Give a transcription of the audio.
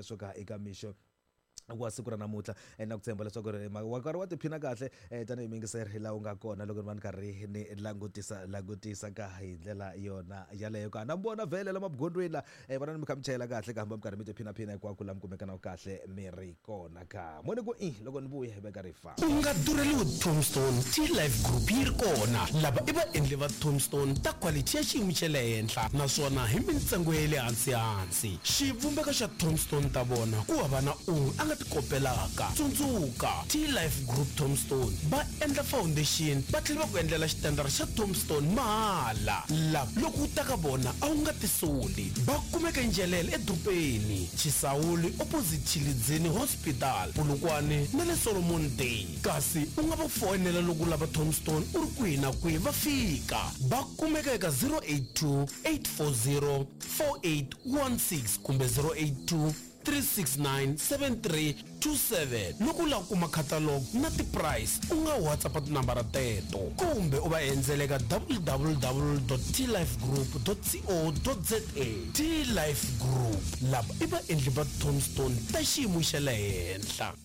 Sweswo ka eka mixo wa siku ra namuntlha eh, na ku tshemba leswaku ri wa karhi wa tiphina kahle eh, tanihi muyingiseri laha u nga kona loko ni va ni karhi ni langutisa langutisa ka hi ndlela yona yaleyo ka na mi vona vhele la mabugondweni la eh, vona ni mi kha mi chayela kahle ka hamba mi karhi mi tiphinaphina hinkwako la mi kumekana kahle mi ri kona ka moni ku i loko ni vuya hi veka ri fa U nga durheliwi Tombstone, T-Life Group yi ri kona. Lava i vaendli va Tombstone ta khwalithi ya xiyimo xa le henhla naswona hi mintsengo ya le hansi-hansi. Xivumbeko xa Tombstone ta vona ku hava na un'we a nga ti kopelaka. Tsundzuka, T-Life Group Tombstone va endla foundation va tlhela va ku endlela xitandara xa Tombstone mahala. Lava loko u ta ka vona a wu nga tisoli. Va kumeka eNjelele edorobeni, Chisawuli opposite Tshilidzini Hospital, Polokwane na le Solomon Day. Kasi u nga va foyinela loko u lava Tombstone u ri kwihi na kwihi va fika. Va kumeka eka 082 840 4816 kumbe 082 369 7327. Loko u lava ku kuma catalogue na ti-price u nga WhatsApp tinambara teto kumbe u va endzela eka www.tlifegroup.co.za. T-Life Group, lava i vaendli va tombstone ta xiyimo xa le henhla.